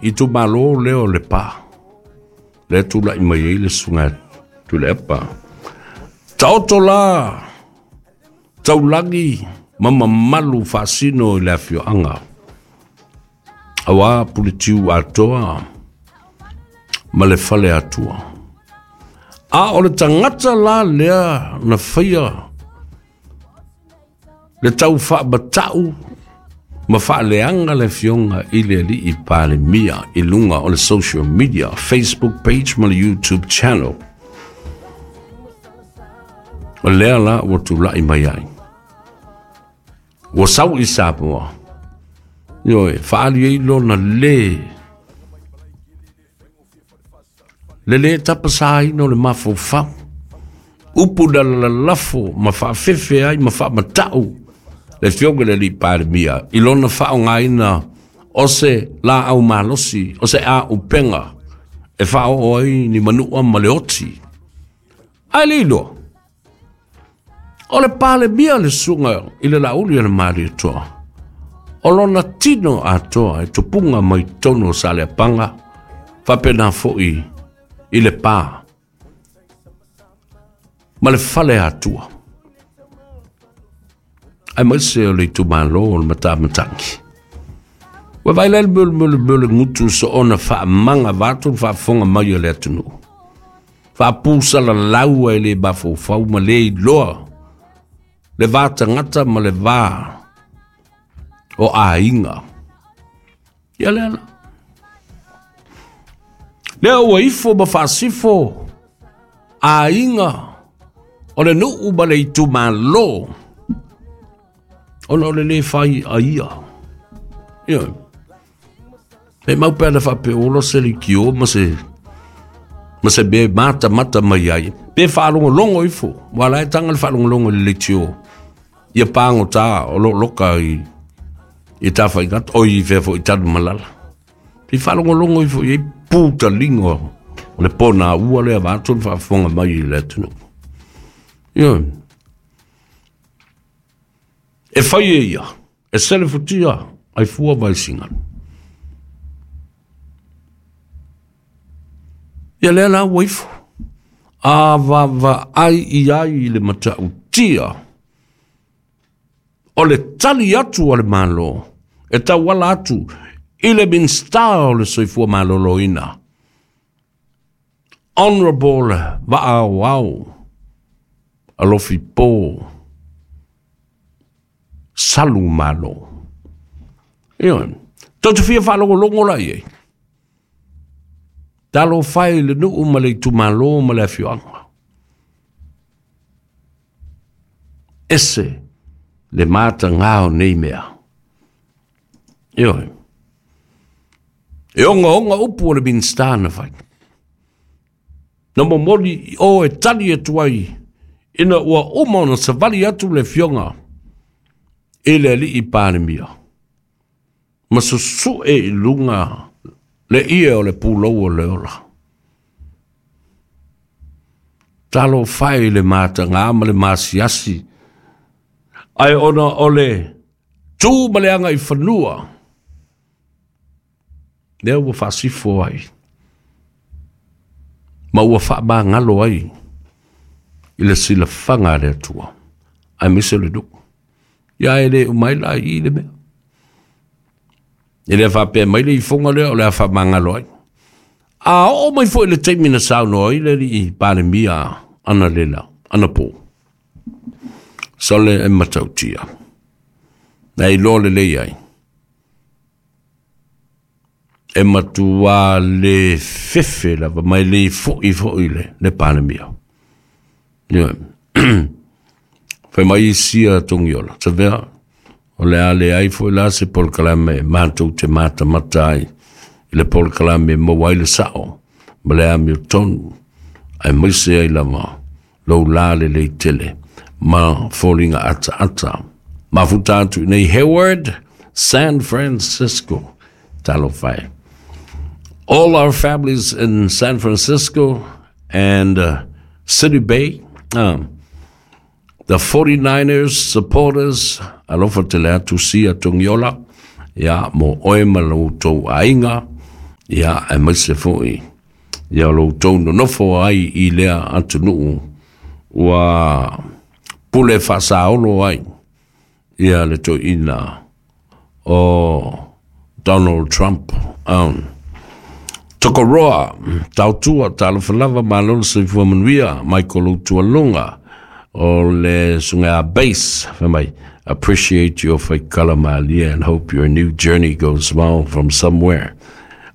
Itumalo lea o Lepa, lea tulai mai ai le susuga ia Tuilaepa. Taoto la taulagi ma mamalu faasino i le afioaga, aua Puletiu atoa ma le fale atua. A o le tagata la lea na faia le tau faamatau ma faaleaga le afioga i le alii Palemia i luga o le social media, Facebook page ma le YouTube channel. O lea la ua tulai mai ai. Ua sau i Samoa. Ioe, faali ai lona le Le lē tapasaina o le mafaufau, upu na lalafo ma faafefe ai ma faamata'u le Afioga i le Alii Palemia i lona faaaogaina o se laau malosi, o se aupega e faaoo ai ni manua ma le oti. Ae le iloa, o le Palemia le susuga i le Laauli o le Malietoa, o lona tino atoa e tupuga mai totonu o Saleapaga, faapena foi i Lepa ma le fale atua, aemaise o le itumalo o le Matamatagi. Ua vaai la le mea o le mea o le gutu soona faamaga vaeatu le faafofoga mai a le atunuu. Faapusalalau ai le mafaufau ma le iloa le va tagata ma le va o aiga. Ia lea la. Lea ua ifo ma faasifo aiga o le nuu ma le itumalo ona o le lē fai a ia. Ioe. E mau pea na faapea se leitio ma se ma se mea e matamata mai ai. Pe faalogologo ifo, ua la e taga le faalogologo i le leitio. Ia pagota o lo loka i i Tafaigata, o i fea foi i Tanumalala. Pe faalogologo ifo i ai putaliga o le pona ua lea vaeatu le faafofoga mai i le atunuu. Ioe. E fai e ia, e selefutia ai fua vaisigalu. Ia lea la ua ifo. A vaavaai i ai i le matautia o le tali atu a le Malo e tauala atu i le Minisita o le Soifua Maloloina, Honourable Vaaoao Alofi Po Salu Malo. Ioe, tou te fia faalogologo la i ai. Talofa e i le nuu ma le itumalo ma le afioaga. Ese le matagā o nei mea. Ioe. E ogaoga upu o le Minisita na fai. Na momoli i o e tali atu ai ina ua uma ona savali atu le afioga i le alii Palemia ma susue i luga le ie o le pulou o le ola. Talofa e i le matagā ma le masiasi, ae ona o le tu ma le agaifanua, lea ua faasifo ai ma ua faamagalo ai i le silafaga a le Atua, aemaise o le nuu. Ia e le uma ai la i i le mea. E le faapea mai le ifoga lea o le a faamagalo ai. A oo mai foi le taimi na saunoa ai le alii Palemia analela, anapo, sole e matautia. Na iloa lelei ai. E matua le fefe lava mai le foi foi le, le Palemia. Ioe. Fai mai isia Togiola, Savea, o le a leai foi la se polokalame e matou te matamata ai i le polokalame e maua ai le sao ma le amiotonu, aemaise ai lava lou la lelei tele ma foliga ataata. Mafuta atu i nei Hayward, San Francisco. Talofa e. All our families in San Francisco and City Bay, the 49ers supporters, alofa tele atu sia Togiola, ia mo oe ma lo outou aiga, Ia, aemaise foi ia o lo outou nonofo ai i lea atunuu ua pule faasaolo ai ia le toeaina o Donald Trump. Tokoroa, tautua, talofa lava, malo le soifua manuia, Michael Utualunga, o le suga base, fai mai, appreciate your faikala malia and hope your new journey goes well from somewhere.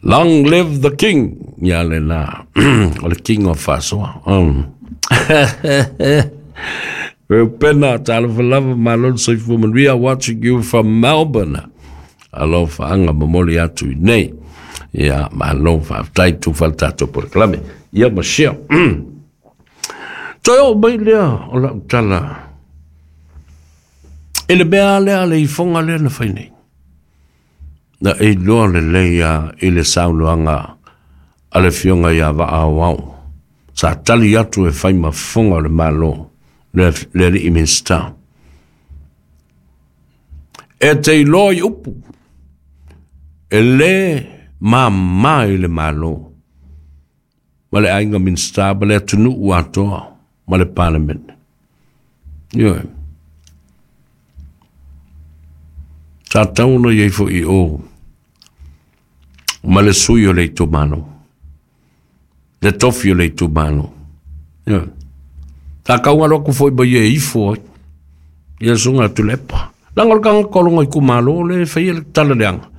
Long live the king! Ia le la, o le king o Fasoa. Reupena, talofa lava, malo le soifua manuia, watching you from Melbourne. Alofa anga momoli atu i nei. Ia, malo faafetai tufa le tatou polokalame. Ia ma share. Toe oo mai lea o lau tala i le mea lea le ifoga lea na fai nei. Na e iloa lelei a i le saunoaga a le Afioga ia Vaa Aoao. Sa tali atu e fai ma fofoga o le Malo, le alii Minisita. E te iloa i upu, e lē māmā i le Malo, ma le aiga Minisita, ma le atunuu atoa, ma le Palemene. Ioe. Sa tatau ona i ai foi i o ma le sui o le itumalo, le tofi o le itumalo. Ioe. Sa tau alo atu foi ma ia e ifo ai ia susuga Tuilaepa. Leaga o le tagata o lona itumalo lea e faia le tala leaga.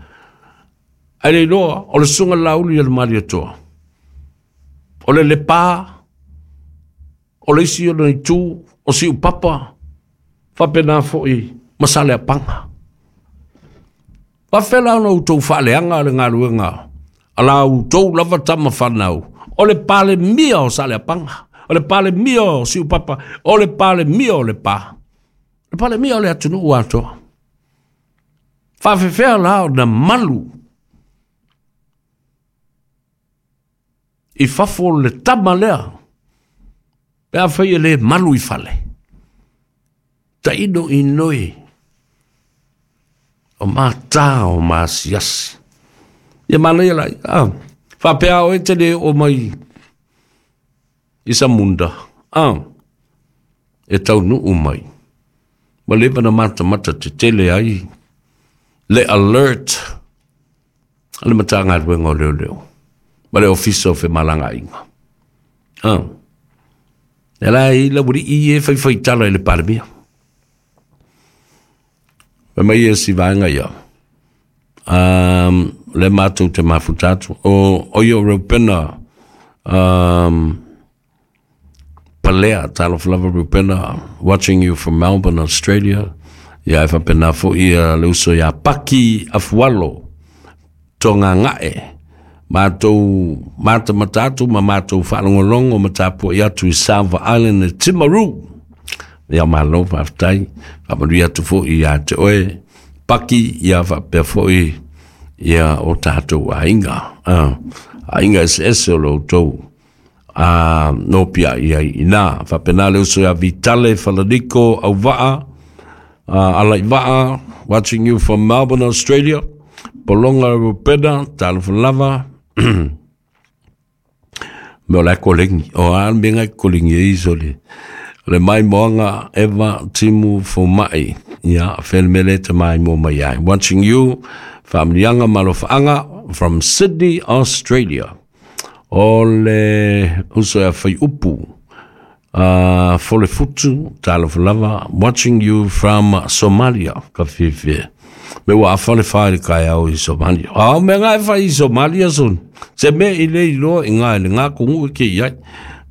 Ae le iloa o le susuga Laauli a le Malietoa, o le Lepa, o le isi ona itu o Siupapa, faapena foi ma Saleapaga. Faafefea la ona outou faaleaga le galuega a la outou lava tama fanau, o le Palemia o Saleapaga, o le Palemia o Siupapa, o le Palemia o Lepa, le Palemia o le atunuu atoa. Faafefea la ona malu i fafo le tama lea, pe afai e le malu i fale. Taino inoi o matā o masiasi. Ia manaia la, ah, faapea oe te le oo mai i Samunda, ah, e taunuu mai. Ua leva ona matamata tetele ai le alert a le Matagaluega o Leoleo ma le Ofisa o Femalagaaiga. Ah. E la i la wuri i e whai whai tala i le Palemia. Fai mai e si vaega ia. Le matou te mafuta atu. O ia o Reupena, Palea, talofa lava Reupena, watching you from Melbourne, Australia. Ia e faapena foi ia le uso ia Paki Afualo, Togagae. Matou matamata atu ma matou faalogologo ma tapuai atu i Salva Island e Timaru. Ia malo faafetai, faamanuia atu foi ia te oe, Paki, ia faapea foi ia o tatou aiga. Aiga eseese o lo outou a no pia i ai ina. Faapena le uso ia Vitale Falaniko Auvaa, Alaivaa, watching you from Melbourne, Australia. Polonga Rupena, talofa lava. Me o la kolengi, o a me ngai kolengi e iso le. Le mai moanga Eva Timu Fomai, ia whenmele te mai mo mai ai. Watching you, Faamlianga Malofaanga from Sydney, Australia. O le uso ia whai upu, Folefutu, talofa lava, watching you from Somalia, ka whiwhi. Me ua awhale whae le kai au i Somalia. A me ngai whai i Somalia son. Se me i le iloa i ngai le ngā kongu ke i ai.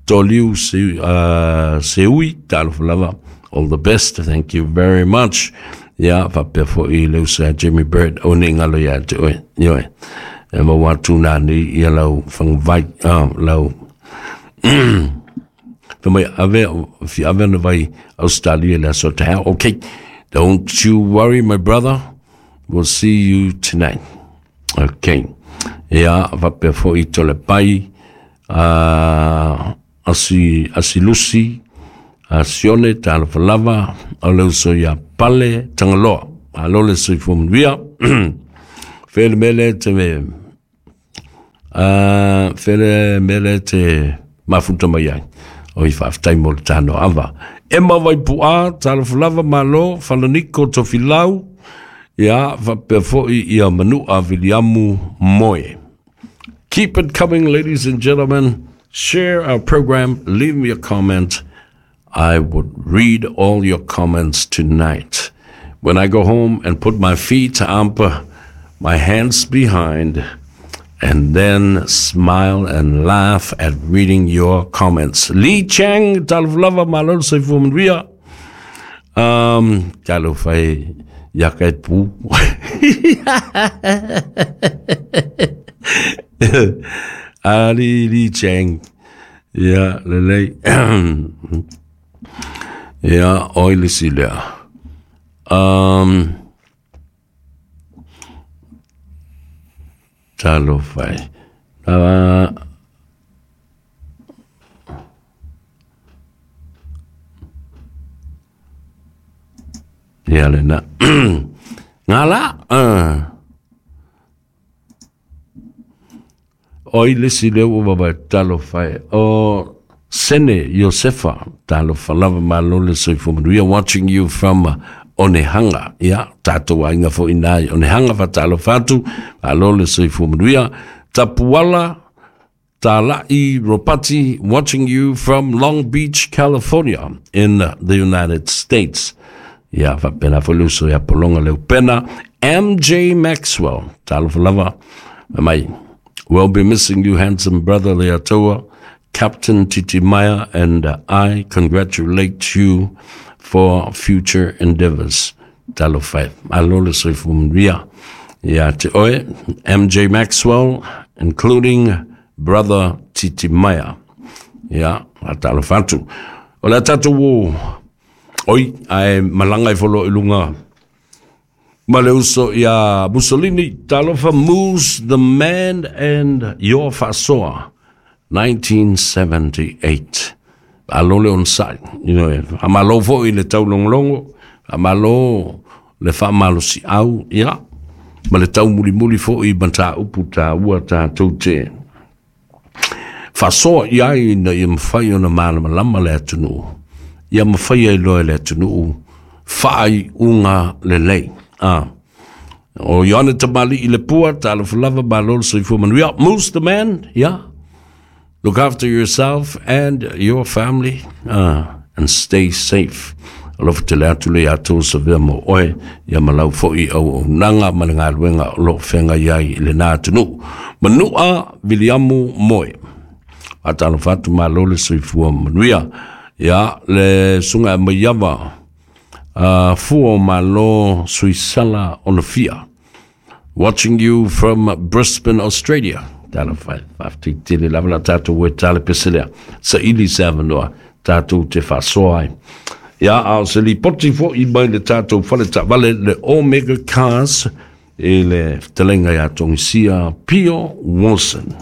Toliu se ui, talofa lava. All the best, thank you very much. Ia, faapea foi le uso ia Jimmy Bird, o ne ngalo ia te oe. Ioe. E ma watu nā ni ia lau whangawai, lau Fai mai ave, fi ave na vai Australia le aso te hao. Okay, don't you worry, my brother. We'll see you tonight. Okay. Ia, faapea foi to le pai, asi Lucy, Sione, talofa lava, o le uso ia Pale Tagaloa. Malo le soifua manuia. Fele mele te me Fele mele te mafuta mai ai. O i faafetai mo le tanoa. Emma Vaipua, talofa lava malo, Falaniko Tofilau, ia, faapea foi ia Manua Viliamu Moe. Keep it coming, ladies and gentlemen. Share our program. Leave me a comment. I would read all your comments tonight. When I go home and put my feet up, my hands behind, and then smile and laugh at reading your comments. Lee Chang, talofa lava malo soifua manuia. Talofa e ia kai pu. Ali Lee Chang. Ia, lelei. Ia, oi le si lea. Talofa e. Ia le na. Ngā la. Oi le si lea ua vavae talofa e. O Sene Iosefa, talofa lava malo le soifua manuia, watching you from Onehanga. Ia, tātou aiga foi nā i Onehanga, fa talofa atu, malo le soifua manuia. Tapuala Tala'i Ropati, watching you from Long Beach, California, in the United States. Ia, faapena foi le uso ia Polonga Leupena. MJ Maxwell, talofa lava, mai. We'll be missing you, handsome brother Leatoa, Captain Titimaea, and I congratulate you for future endeavors. Talofa e. Malo le soifua manuia. Ia te oe, MJ Maxwell, including brother Titimaea. Ia, a talofa atu. O le tatou ua, oi, ae malaga i folo i lunga ma le uso ia Mussolini. Talofa Moose, the man and your faasoa, 1978. Malo le onosai. You know, faamalo foi le taulogologo, faamalo le faamalosiau, ia, ma le taumulimuli foi mataupu taua tatou te faasoa i ai ina ia mafai ona malamalama le atunuu, ia mafai ai loa e le atunuu faaiuga lelei. Ah. O Ioane Tamali i le pua, talofa lava, malo le soifua manuia. Moose the man, yeah. Look after yourself and your family and stay safe. Alofa tele atu le ia tou savea mo oe, ia ma lau foi auaunaga ma le galuega o lo o feagai ai i lena atunuu. Manua Viliamu Moe. Faatalofa atu malo le soifua manuia. Ia le susuga e Maiava Fua o Malo Suisala Onafia. Watching you from Brisbane, Australia. Talofa e, faafetai tele lava la tatou e tale pese lea. Saili se avanoa tatou te faasoa ai. Ia, a o se lipoti foi mai le tatou fale taavale le Omega Cars i le fetalaiga ia Togisia Pio Wilson.